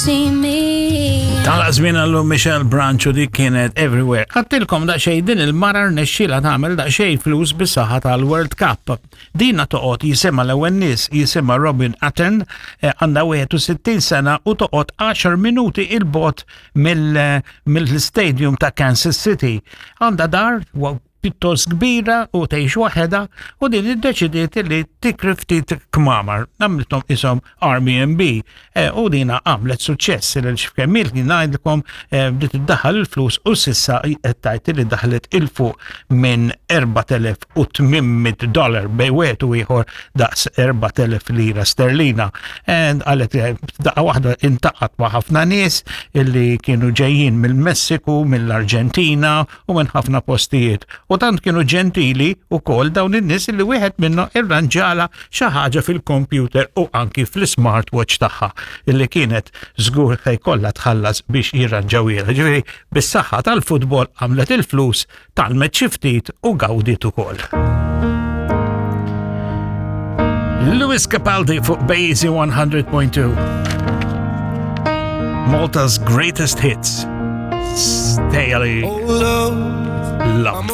See me. Tala żmien għallu Michelle Branch u dik kienet everywhere. Għattilkom daqsxejn din il-mara rnexxiela tagħmel daqsxejn flus bis-saħħa tal-World Cup. Dina toqgħod jisimha l-ewwel nies jisimha Robin Atten eh, għandha 61 sena u toqgħod 10 minuti il-bot mill-stadium ta' Kansas City. Għandha dar pjuttost kbira u tgħix waħedha u din iddeċidiet li tikri ftit kmamar għamlithom ishom Airbnb e, u dina għamlet suċċess li x'kemm li ngħidilkom e, bdiet iddaħħal il-flus u sissa qed tgħid li daħlet il fuq minn 4800 dollar bej wieħed u ieħor daqs 4000 lira sterlina. Qalet eh, daqqa waħda intaqat ma' ħafna nies illi kienu ġejjin mill-Messiku, mill-Arġentina u minn ħafna postijiet. U tant kienu ġentili wkoll dawn in-nies li wieħed minnhom irranġala xi ħaġa fil-kompjuter u anki fl-smartwatch tagħha illi kienet żgur se jkollha tħallas biex jirranġawhielha. Ġifieri bis-saħħa tal-futbol għamlet il-flus, tgħallmet xi ftit u gawdiet ukoll. Lewis Capaldi fuq Bazy 100.2. Malta's greatest hits. Stay alive. Love.